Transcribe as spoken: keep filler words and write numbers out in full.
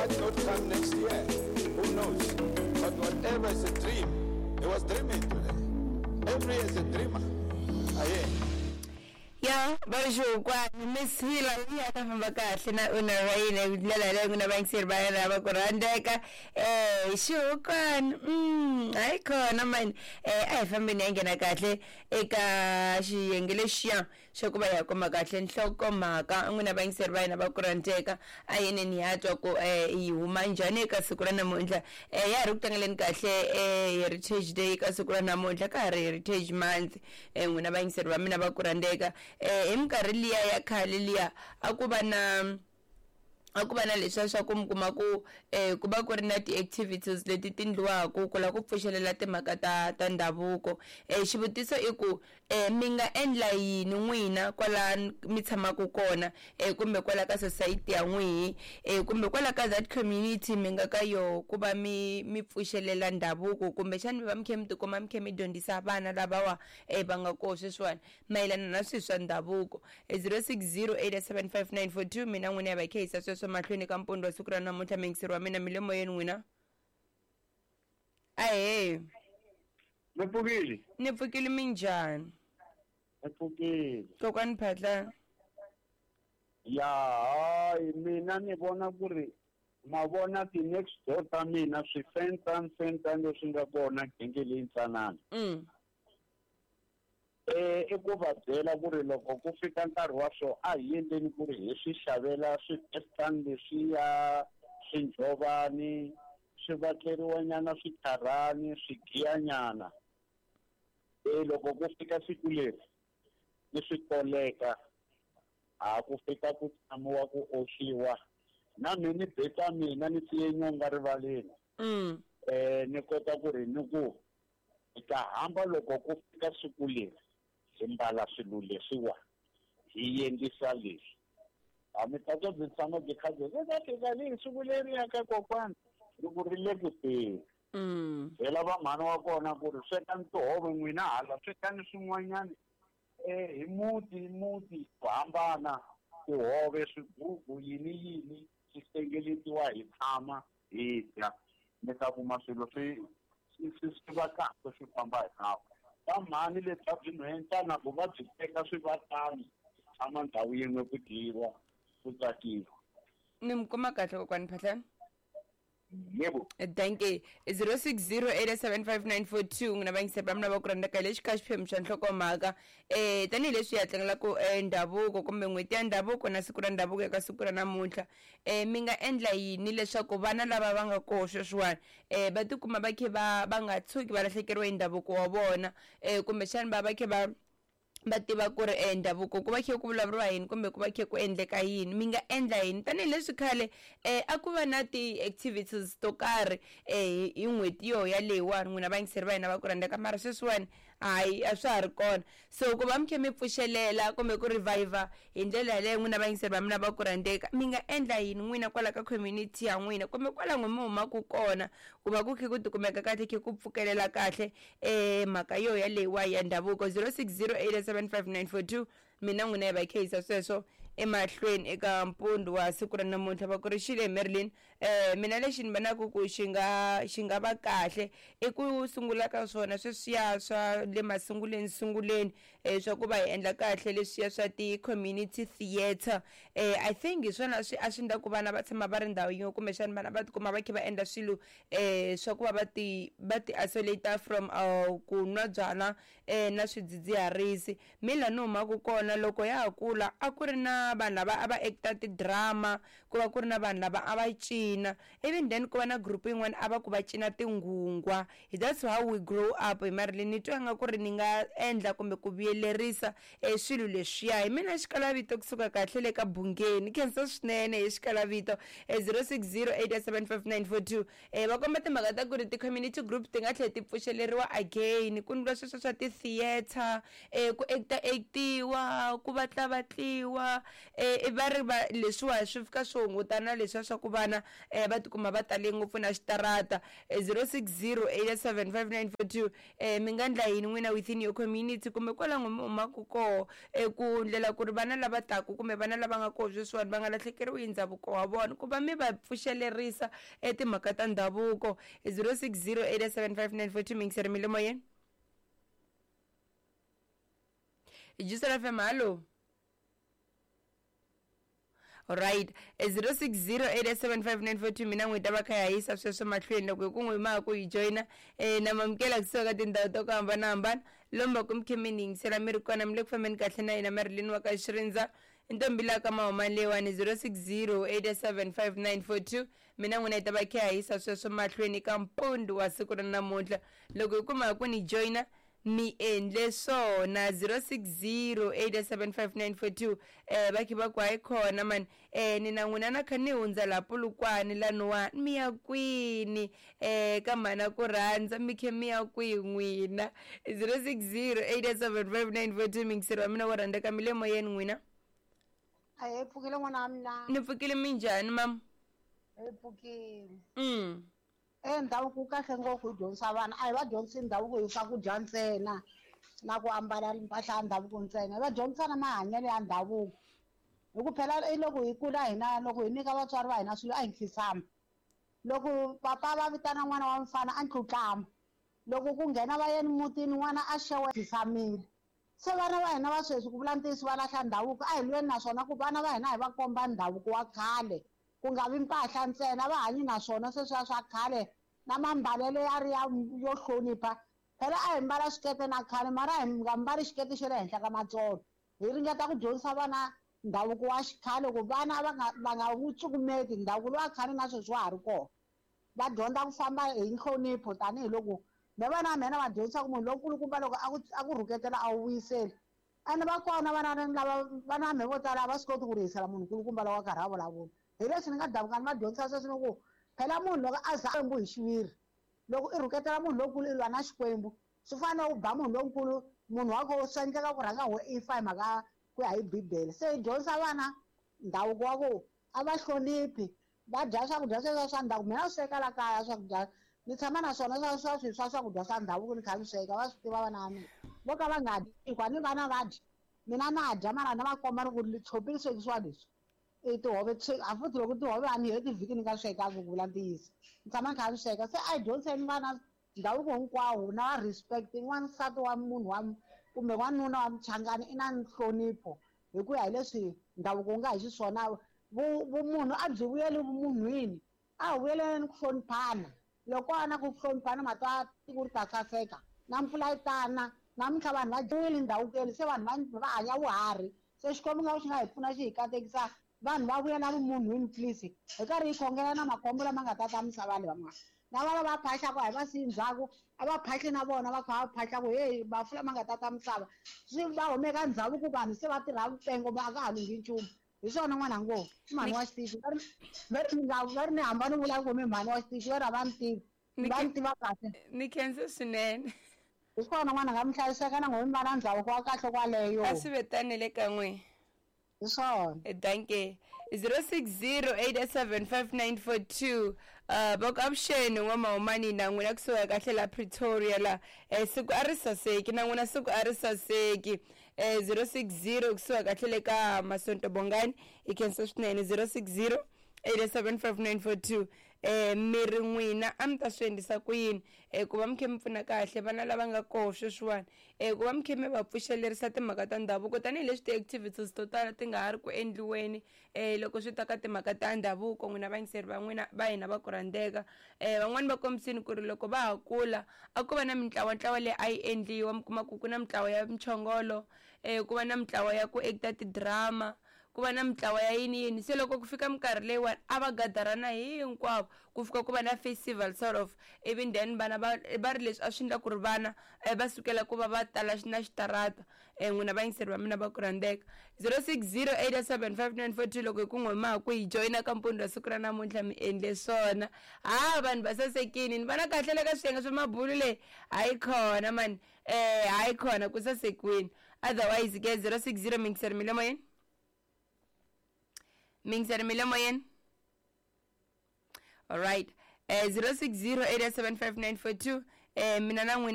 might not come next year. Who knows? But whatever is a dream, he was dreaming today. Every year is a dreamer. Aye. Ya va ri xihukwani Miss Hila yi ya ta famba kahle na una ra yena hi ndlela yaleyo n'wina vayingiseri va yena va ku rhandzeka um xihukwani mm hayi khona mani um a hi fambeni ya nghena kahle eka xiyenge lexiya xa ku va hi ya kuma kahle nhlokomhaka n'wina vayingiseri va hina va ku rhandzeka a yeneni ya twa ku um yi huma njhani eka siku ra namuntlha um ya ha ri ku tlangeleni kahle um Heritage Day eka siku ra namuntlha ka ha ri Heritage Month um n'wina vayingiseri va mina va ku rhandzeka um hi minkarhi liya ya khale liya a ku va na a ku va na leswiya swa ku mi kuma ku um ku va ku ri na ti-activities leti ti ndliwaku ku lava ku pfuxelela timhaka ta ta ndhavuko um xivutiso i ku um mi nga endla yini n'wina kwala mi tshamaka kona um kumbe kwala ka society ya n'wihi um kumbe kwala ka that community mi nga ka yoho ku va mi mi pfuxelela ndhavuko kumbexani mi va mi kha mi tikuma mi kha mi dyondzisa vana lavawa um va nga koho sweswiwani mayelana na swilo swa ndhavuko zero six zero eight seven five nine four two mina n'wina ya va kha yisa sweswo mahlweni ka mpundzu wa siku ra namuntlha muyingiseri wa mina mi le moyeni n'wina ahee Ni pfukile ni pfukile minjhani ni pfukile kokwani Phahla ya hayi mina ni vona ku ri ma vona ti-next door ta mina swifentani fentani leswi nga kona genge leyi ntsanana mm eh i ku va byela ku ri loko ku fika nkarhi wa swo a hi endleni ku ri hi swi xavela swifentani leswiya swinjhovani swi vatleriwanyana switharani swi giyanyana e loko ku fika siku leri ni swi koleka a ku fika ku tshamiwa ku oxiwa na mina ni beta mina ni siye nyonga rivaleni mm eh ni kota ku ri ni ku hi ta hamba loko ku fika siku leri hi mbala swilo leswiwa hi endlisa leswi a mi ta twa byi tshama byi kha byi ri ta fika leyi siku leriya ka kokwana ri ku ri le ku teni mm byela va mhani wa kona ku ri swekani tihove n'wina hala swekani swin'wanyana eh hi muti hi muti ku hambana tihove swigugu yini yini swi hlengeletiwa hi tshama hi dya mi ta kuma swilo swi swi swi swi va kahle swi famba hi nawu va mhani lebya byi nhwentana ku va byi teka swi va tano tshama ndhawu yin'we ku dyiwa ku tsakiwa ni mi kuma kahle kokwani Phahla yebo danke zero six zero eight seven five nine four two n'wina vayingiseri va mina va ku rhandzaka hi lexi ka xiphemu xa nhlokomhaka um tanihileswi hi ya tlangelaka um ndhavuko kumbe n'hweti ya ndhavuko na siku ra ndhavuko eka siku ra namuntlha um mi nga endla yini leswaku vana lava va nga koho sweswiwani um va tikuma va kha va va nga tshuki va lahlekeriwa hi ndhavuko wa vona um kumbexani va va kha va va tiva ku ri eh, ndhavuko ku va khe ku vulavuriwa yini kumbe ku va khe ku endleka yini mi nga endla yini tanihileswi khale eh, a ku va na ti-activities to karhi eh, hi n'hweti yo yaleyiwani n'wina vayingiseri va hina va ku rhandzaka mara sweswiwani hayi a swa ha ri kona so ku va mi khe mi pfuxelela kumbe ku reviver hi ndlela yaleyo n'wina vayingiseri va mina va ku rhandzeka mi nga endla yini n'wina kwala ka community ya n'wina kumbe kwala n'we mi humaka kona ku va ku khe ku tikumeka kahle khe ku pfukelela kahle um mhaka yo yaleyiwa ya ndhavuko zero six zero eight seven five nine four two mina n'wina hi va khe yisa sweswo emahlweni eka mpundzu wa siku ra namuntlha va ku ri xile Marilyn um mina lexi ni vonaka ku xi nga xi nga va kahle i ku sungula ka swona sweswiya swa le masunguleni sunguleni um swa ku va hi endla kahle leswiya swa ti-community theatre um I think hi swona swi a swi endla ku vana va tshama va ri ndhawu yin'we kumbexani vana va tikuma va kha va endla swilo um swa ku va va ti va ti isolate from uh, ku nwa byalwa um na swidzidziharisi mi laha ni humaka kona loko ya ha kula a ku ri na vanhu lava a va acta ti-drama ku va ku ri na vanhu lava a va cina even then ku va na group yin'wana a va ku va cina tinghungwa that's how we grow up hi Marilyn ni twa nga ku ri ni nga endla kumbe ku vuyelerisa um swilo leswiya hi mina xikalavito kusuka kahle le ka bungeni khensa swinene hi xikalavito zero six zero eight seven five nine four two um va komba timhaka ta ku ri ti-community group ti nga tlhela ti pfuxeleriwa again ku ndliwa sweswo swa ti-theatre um ku acta actiwa ku vatlavatliwa um va ri va leswiwa swi fika swi hungutana leswiya swa ku vana um va tikuma va tale ngopfu na xitarata zero six zero eight seven five nine four two um mi nga endla yini n'wina within your community kumbe kwala n'wi mi humaka koho um ku ndlela ku ri vana lava taku kumbe vana lava nga koho sweswiwani va nga lahlekeriwi hi ndhavuko wa vona ku va mi va pfuxelerisa e timhaka ta ndhavuko. zero six zero eight seven five nine four two mingiseri mi le moyeni Justin F M, hallo. Alright, zero six zero eight seven five nine four two mina n'wi ta va kha ya yisa sweswo mahlweni loko hi ku n'wi ma ku yi joyina eh na mamukela kusuka ka tindhawu to ku hambanahambana lomba ku mi khe mi ni yingisela mi ri kona mi le ku fambeni kahle na hina Marilyn wa ka Xirindza ntombi la ka mahuma leyiwani zero six zero eight seven five nine four two mina n'wina hi ta va kha ya yisa sweswo mahlweni ka mpundu wa siku ra namuntlha loko hi kuma ku ni joyina mi endle swona zero six zero eight seven five nine four two eh va khe va ku hayi khona mani eh ni na n'wina na kha ni hundza laha Polokwane laniwani mi ya kwini eh ka mhana ku rhandza mi khe mi ya kwihi n'wina zero six zero eight seven five nine four two mingiseri wa mina wo rhandzeka mi le moyeni n'wina. A hi pfukile n'wana wa mina. Ni pfukile minjhani mama? Hi pfukile. Mm. E ndhavuko wu kahle ngopfu hi dyondzisa vana a hi va dyondzisi ndhavuko hi swakudya ntsena na ku ambala mpahla ya ndhavuko ntsena hi va dyondzisa na mahanyelo ya ndhavuko hi ku phela i loko hi kula hina loko hi nyika vatswari va hina swilo a hi nkhinsama loko papa va vitana n'wana wa mfana a ntlutlama loko ku nghena va yeni mutini n'wana a xewe nkhisamile se vana va hina va sweswi ku vula ntiyiso va lahla ndhavuko a hi lweni naswona ku vana va hina hi va komba ndhavuko wa khale ku nga vi mpahla ntsena va hanyi naswona sweswiya swa khale na mambalelo ya ri ya yo hlonipha phela a hi mbala xikete na khale mara a hi nga mbali xikete xa le henhla ka matsolo hi ringeta ku dyondzisa vana ndhavuko wa xikhale ku vana va nga va nga wu cukumeti ndhavuko lowa khale na sweswi wa ha ri kona va dyondza ku famba hi nhlonipho tanihiloko me vana va mina va dyondzisa ku munhu lonkulukumba loko a ku a ku rhuketela a wu vuyiseli ene va kona vana lava vana va mehe vo tala a va swi koti ku rihisela munhu nkulukumba loko a karhi a vulavula hi leswi ni nga davuka ni va dyondzisa sweswi ni ku phela munhu loko a za Xikwembu hi xiviri loko i rhuketela munhu lonkulu i lwa na Xikwembu swi fana na u ba munhu lonkulu munhu wa koho swi endleka ku rhanga ho i fa hi mhaka ku ya hi bibele se hi dyondzisa vana ndhavuko wa ku a va hloniphi va dya swakudya sweswo swa ndhavuko mina swi sweka la kaya swakudya ni tshama na swona swa swa swi swa swakudya swa ndhavuko ni kha ni sweka va swi tiva vana va mina vo ka va nga dyi hikuva ni vana va dya mina na dya mara na va komba ni ku tshopi ri swekisiwa leswi i tihove a futhi loko tihove a ni heti vhiki ni nga swekanga ku vula ntiyiso ni tshama ni kha ni sweka se a hi dyondziseni vana ndhavuko hinkwawo na va respect n'wansati wa munhu wa kumbe n'wanuna wa muchangani i na nhlonipho hi ku ya hi leswi ndhavuko wu nga hi xiswona vumunhu a byi vuyeli vumunhwini a hi vuyeleni ku hloniphana loko a na ku hloniphana matwa tiko ri ta saseka na mpfula yi tana namuntlha vanhu va dyiwile ndhavukweni se vanhu va hanya vuharhi se Xikwembu nga xi nga hi pfuna xi hi katekisa vanhu va vuyela vumunhwini please hi karhi hi khongela na makhombo lama nga ta ta misava leyi van'wana na vana va phahlaka a hi va siyi ndzhaku a va phahli na vona va kha va phahlaku heyi mafu lama nga ta ta misava swi va humeka ndhavuko vanhu se va tirha vupengo va a ka ha lunghi nchumu hi swona n'wana ngo i mhani wa xitichi va ri va ri nga va ri ni hamba ni vula ku mi mhani wa xitichi va ri a va ni tivi va ni tiva kahle ni khense swinene hi swona n'wana nga mi hlayiseka na n'we mi va na ndhavuko wa kahle kwaleyo a swi vetanele ka n'we hi swona danke zero six zero eight seven five nine four two uh va ku avuxeni n'wamahumani na n'wina kusuka kahle la Pretoria la eh siku a ri saseki na n'wina siku a ri saseki eh zero six zero kusuka kahle le ka Masonto Bongani i khensa swinene zero six zero eight seven five nine four two eh mi ri n'wina a mi ta swi endlisa ku yini eh ku va mi khe mi pfuna kahle vana lava nga koho sweswiwani eh ku va mi khe mi va pfuxelerisa timhaka ta ndhavuko tanihileswi ti-activities to tala ti nga ha ri ku endliweni eh loko swi ta ka timhaka ta ndhavuko n'wina vayingiseri va n'wina va hina va ku rhandzeka eh van'wani va kombisini ku ri loko va ha kula a ku va na mintlawantlawa leyi a yi endliwa mi kuma ku ku na mintlawa ya mchongolo eh ku va na mintlawa ya ku acta ti-drama ku va na mintlawa ya yini yini se loko ku fika minkarhi leyiwani a va gadarana hinkwavo ku fika ku va na festival sort of ivi then vana va va ri leswi a swi endla ku ri vana va sukela ku va va tala na xitarata n'wina vayingiseri va mina va ku rhandzeka zero six zero eight seven five nine four two loko hi ku n'we ma ku hi joyina ka mpundzu wa siku ra namuntlha mi endle swona ha vanhu va sasekini ni vona kahle le ka swiyenge swa mabulu leyi hayi khona mani eh hayi khona ku sasekwini otherwise ke zero six zero mingiseri mi le moyeni mingiseri mi le moyeni all right eh zero six zero eight seven five nine four two eh mina na n'wina.